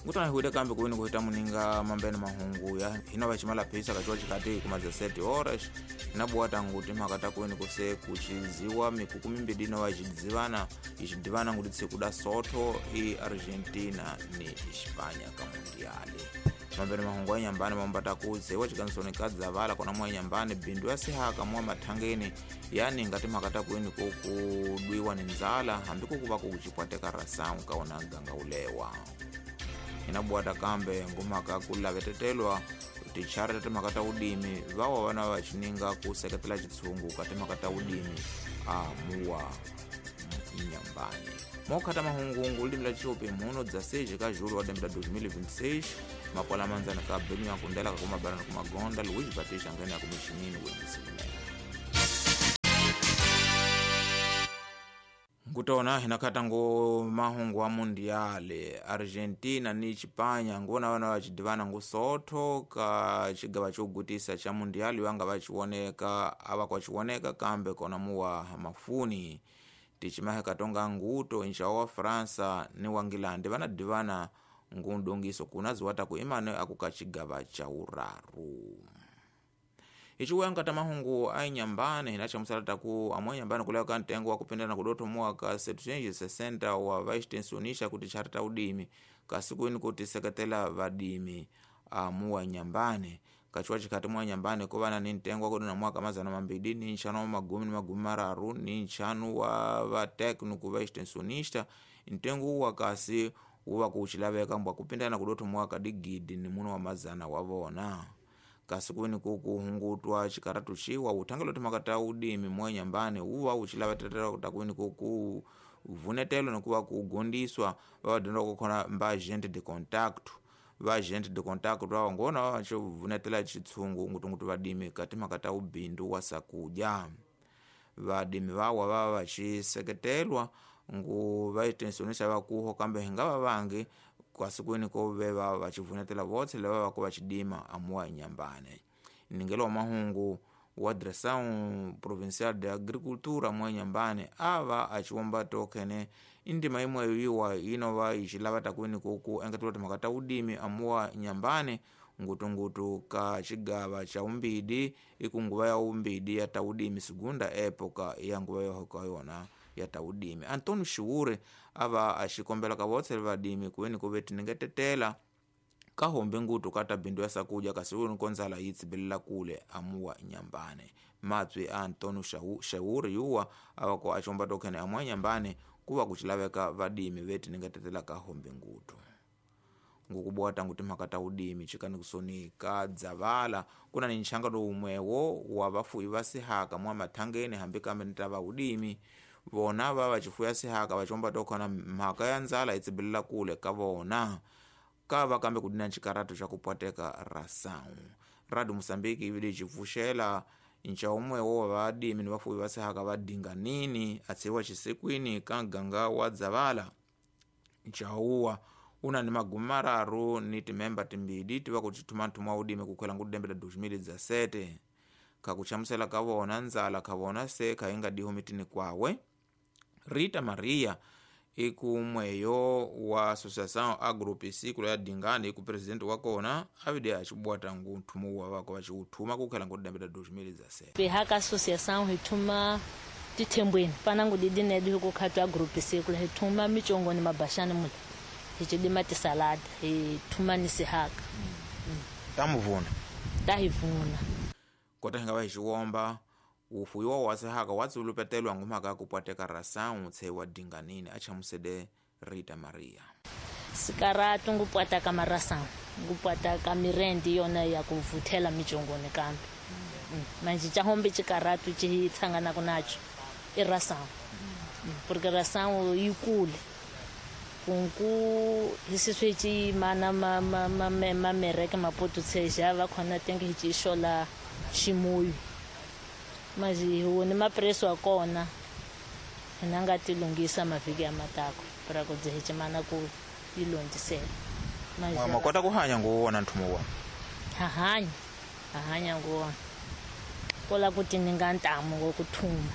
Ngutana hi wile kambe kuwini kuhita muninga mambene mahungu ya hina vachimala phisa kachiwa chikati kuma 17 horas inabuwa tangu timhaka ta kuwini kuse kuchiziwa mikuku mimbiri inova ichidzivana ichidivana nguti tsikuda sotho i Argentina ni Hispania ka mundiali. Mambene mahungu ya nyambani mambata kuzewa chikansoni kadzavala kona mwa nyambani bindu ya sihaka mwa mathangeni yani ngati mhaka ta kuwini kukudwiwa ni nzala hambi kukuva kuchipwateka rasangu kaona ganga ulewa. Inabuwata kambe ngumhaka kulavetetelwa tichara ta timhaka ta udimi vawa vana va chininga ku seketela chitshungu ka timhaka ta udimi a muwa inyambani. Mokhata mahungungu limi la chiupi muno dza 6 ka julho wa lembe la 2026 makwala manzana ka benu ya kundela ka kumabarana kumagonda Luiz Batista ngene ya kumichinini wendisikunene. Ngutona hinakata ngo mahungu wa mundiale Argentina ni Chipanya ngona vana vachidivana ngusotho ka chigava chogutisa cha mundiali wanga vachioneka ava kwachioneka kambe kona muwa mafuni tichimahe katonga nguto incha wa Fransa ni wangilande vanadivana ngundongiso kuna ziwata ku imane akukachigava cha uraru. Ichiwenga tamahungu ainyambane hinachamusala taku amwe nyambane kuleka ntengo wa kupendana kudoto mwaka 760 wa vaextensionisha kuti charita udimi kasikuini kuti seketela vadimi amuwa nyambane kachiwa chikati mwa nyambane kovana ni ntengo wa kudona mwaka 235 wa vatekniku vaextensionista ntengo wa kasi uva kuchilaveka mbwa kupindana kudoto mwaka digidi ni muno wa mazana wavona. Kasi kuini kukuhungutwa chikaratu chiwa uthangelo timhaka ta udimi mwa nyambane uva uchilavetetela takuini kuku vunetelo nikuva kugondiswa vavadonda kukhona mba agente de contact va agente de contact vawa ngona vavachivunetela chitshungu ngutungutu vadimi ka timhaka ta ubindu wa sakudya. Vadimi vawa vava vachiseketelwa ngu vaextensionista vakuho kambe hingava vangi kwasikwini ko veva vachivunetela votse lava vako vachidima amuwa nyambane. Ningelo wa mahungu wa Direção Provincial de Agricultura mwa nyambane ava achiwomba tokene indima imwe yiwa inova ichilava takwini kuku engetela timhaka ta udimi amuwa nyambane ngutungutu ka chigava cha umbidi ikunguva ya umbidi ya taudimi segunda época ya nguva yohoka yona ya taudimi. Antônio Shiure ava axikombela ka votse vadimi kuweni kuve tiningetetela kahombe ngutu kata bindu ya sakuja kasi uni konzala yitsibelela kule amuwa nyambane. Matswi a Antônio Shiure yuwa ava ko axomba tokhene amuwa nyambane kuva kuchilaveka vadimi vetiningetetela kahombe ngutu. Ngukubwata tangu timhaka ta udimi chikani kusoni ka dzavala kuna ni nchangano umwewo wa vafuyi va sihaka mwa mathangeni hambi kambe ni ta va udimi vona va vachifuya sihaka vachomba tokhona mhaka ya ndzala itsibelela kule ka vona kava kambe kudina chikaratu cha kupwateka rasangu. Radio Mozambique ivili chipfuxela ncha umwewo wa vadimi ni vafuyi va sihaka va dinganini atsiwa chisikwini ka ganga wa dzavala. Nchauwa una ni magumi mararu ni timemba timbili tiva kuchithuma nthuma wa udimi kukhwela ngudembe la 2017 kakuchamusela ka vona ndzala ka vona se khainga diho mitini kwawe. Rita Maria ikumweyo wa Associação Agropiscícola ya Dingani iku presidente wa kona avide achibwata ngu nthumu wa vako vachiuthuma kukhela ngudembe la 2017. Pehaka associação hithuma tithembweni fana ngudidi nedu hikukhatwa agropiscícola hithuma michongoni mabashani mula hichidima tisalada hithuma ni sihaka. Tamuvuna tahivuna kota hinga vahixiwomba ufuyiwa wa sihaka watsulupetelwa ngumhaka kupwateka rasangu tshe wa dinganini achamusede Rita Maria. Sikaratu ngupwataka marasangu ngupwataka mirendi yona ya kuvuthela michongoni kambe. Manje chahombe chikaratu chitsangana kunacho i rasangu. Porque rasangu yikule kunku hisiswe mana ma mereke mapoto tseja va khona tenge hichishola ximuyu. Maji huoni mapreso akona nanga tilungisa mavhiki ya matako para kudzihichimana ku ilondisela. Maji makota kuhanya nguwona nthumu wa hahanya hahanya nguwona kola kuti ninga ntamu ngokuthuma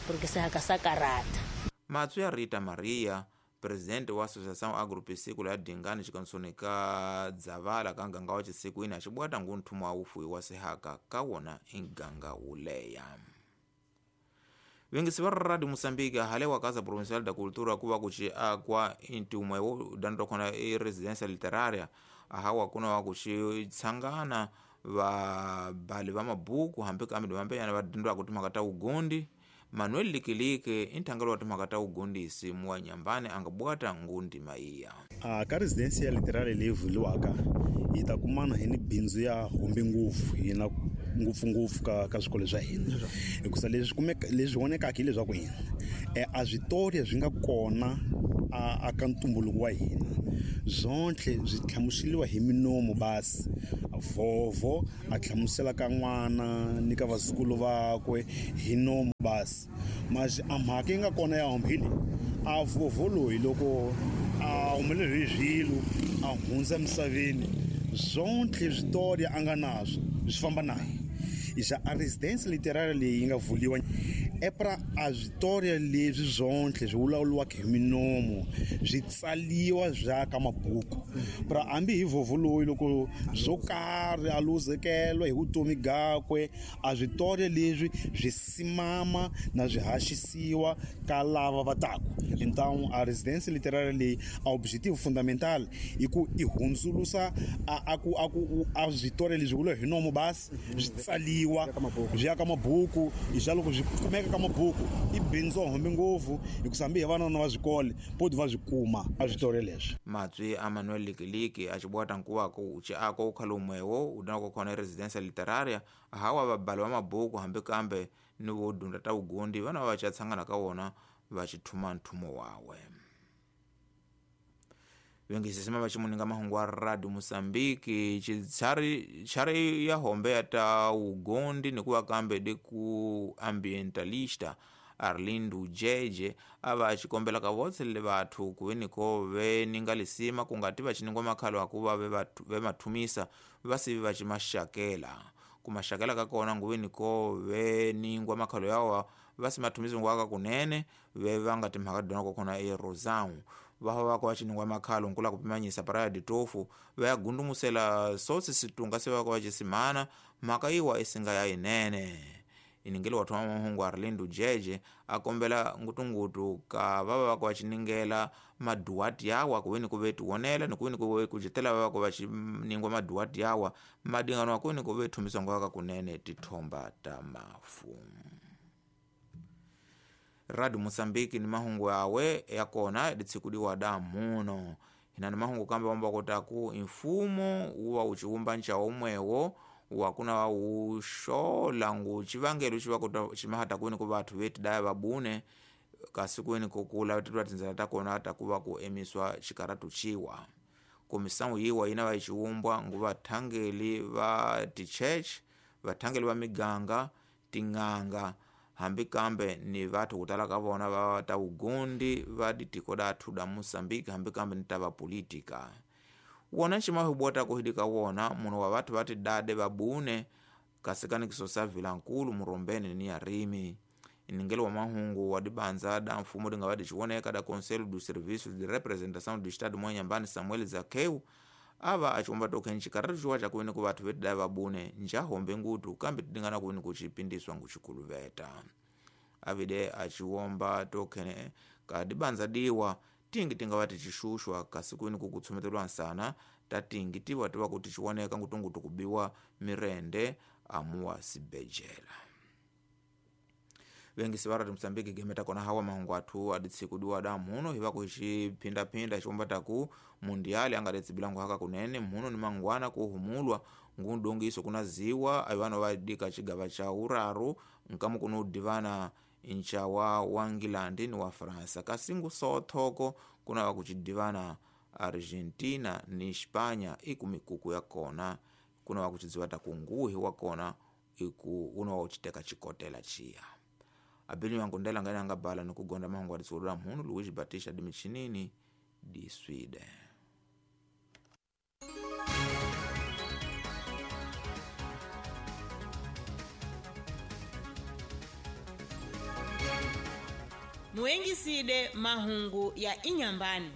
porque sihaka sakarata. Matswi ya Rita Maria Presidente wa Associação Agropiscícola ya Dingane xikansoni ka Dzavala ka nganga wa xisikwini axibwata ngu nthumo wa ufuwi wa sihaka ka wona i nganga wuleya. Vengisi va Radio Moçambique hale wa Casa Provincial da Cultura kuva kuxi akwa intumwe wo danto khona i residência literária ahawa kuna wa kuxi tshangana vabali va mabuku hambi kambe vambenyana va dyondzaka timhaka ta ugundi. Manuel Likilike i nthangelo wa timhaka ta ugundisi muwa Nyambane a nga bwata ngundima iya. Ka residência literária leyi vuliwaka hi ta kumana hi ni bindzu ya hombe ngopfu hina ngopfungopfu ka swikolo swa hina, hikusa leswi kumeka leswi vonekaka hileswaku hina a switori swi nga kona a ka ntumbuluko wa hina zonke byi hlamuseriwa hi minomo basi vhovho a hlamusela ka n'wana ni ka vazukulu vakwe hi nomo basi mas a mhaka yi nga kona ya hombe hi leyi a vhovho loyi loko a humelele hi swilo a hundza emisaveni zonke switori a nga naswo swi famba naye. Xa a residência literária leyi yi nga vuliwa é para a switori leswi zonke swi vulavuriwaka hi minomo swi tsaliwa swa ka mabuku pra hambi hi vhovho loyi loko swo karhi a luzekela hi vutomi gakwe a switori leswi swi simama na swi haxisiwa ka lava va taku. Então a residência literária leyi a objetivo fundamental i ku i hundzulusa a ku a ku a switori leswi vula hi nomo basi swi tsaliwa swi ya ka mabuku hi loko swi kumeka ka mabuku i bindzu hombe ngopfu hikusa hambi hi vanana va swikole poti va swi kuma a switori leswi. Matswi a Manuel Likiliki a xibwata nkuva ku xi ako ukhalumwewo u danako khona residência literária hawa vabali va mabuku hambi kambe ni vo dunda ta ugundi vana va tshangana ka wona va xithuma nthumo wawe. Vengisisima va ximuninga mahungu wa Radio Moçambique tshari ya hombe ya ta ugondi ni kuva kambe de ku ambientalista Arlindo Jeje a va xikombela ka votse le vathu ku ve ko ve ninga lisima ku nga ti va xiningwa makhalo akuva ve mathumisa va sivi va ximaxakela ku maxakela ka kona nguveni ko ve ningwa makhalo yawa va si mathumisa ngwaka kunene ve va nga timhaka dona ko khona e Rosão va va va xiningwa makhalo nkula ku pimanyisa Praia de Tofu va ya gundumusela sotsi situnga se va va xisimana mhaka yiwa isinga ya inene. Iningelo wa thoma mahungu Arlindo Jeje a kombela ngutungutu ka va va xiningela maduwati yawa ku veni ku ve tiwonela ni ku veni ku ve kujetela va va xiningwa maduwati yawa madingano wa ku veni ku ve thumisa ngwaka kunene tithomba ta mafu. Radio Moçambique ni mahungu yawe ya kona ditshikudiwa da muno hina ni mahungu kambe wamba kotaku mfumo uwa uchiumba ncha umwewo wakuna wa ushola ngu chivangelo chivakota chimahata kwini ku vathu veti daya vabune kasi kwini kukula tetwa tinzela takona takuva ku emiswa xikaratu chiwa komisawu yiwa yina va xiumbwa ngu vathangeli va tichurch vathangeli va miganga tin'anga hambi kambe ni vathu kutala ka vona va ta ugundi va ditiko dathu da Moçambique hambi kambe ni ta va politika. Wona ximahi ku hidika wona munhu wa vathu va tidade vabune kasi kanikiso sa Vilankulu Murombeni ni Yarimi. Iningelo wa mahungu wa dibanza da mfumo dinga va dixiwoneka da Conselho do Serviço de Representação do Estado Mwanhambane Samuel Zakeu ava achiomba tokhen xikaratu xiwa xa kuini ku vathu vetidaya vabune njahombe ngutu kambe tidingana kuini ku xipindiswa nguxikuluveta. Avide achiomba tokhen ka dibanza diwa tingi tinga va tixuxwa kasi kwini ku kutshumetelwa nsana ta tingi tiva tiva ku tixiwoneka ngutungutu kubiwa mirende amuwa sibejela. Vengisi va Radio Moçambique gemeta kona hawa mahungu athu aditsikudiwa da muno hiva ku xiphindaphinda xiomba taku mundiali anga letsibilangu haka kunene muno ni mangwana kuhumulwa ngundongiso kuna ziwa avano va dika xigava xa uraru nkamu kuno divana nxawa wa England ni wa Fransa kasi ngusothoko kuna va ku xidivana Argentina ni Espanya iku mikuku ya kona kuna va ku xidziwa ta kunguhi wa kona iku una wa xiteka xikotela xiya. Abeli yankundela ngani anga bala ni kugonda mahungu aditsulula mhunu Luigi Batista di michinini di Sweden. Muengisile mahungu ya Inyambani.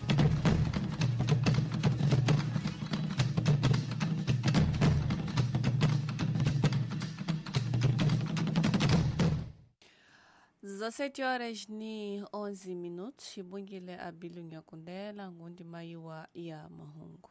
17 horas ni 11 minutos, xibungile abilu Nyakundela ngundi mayiwa ya mahungu.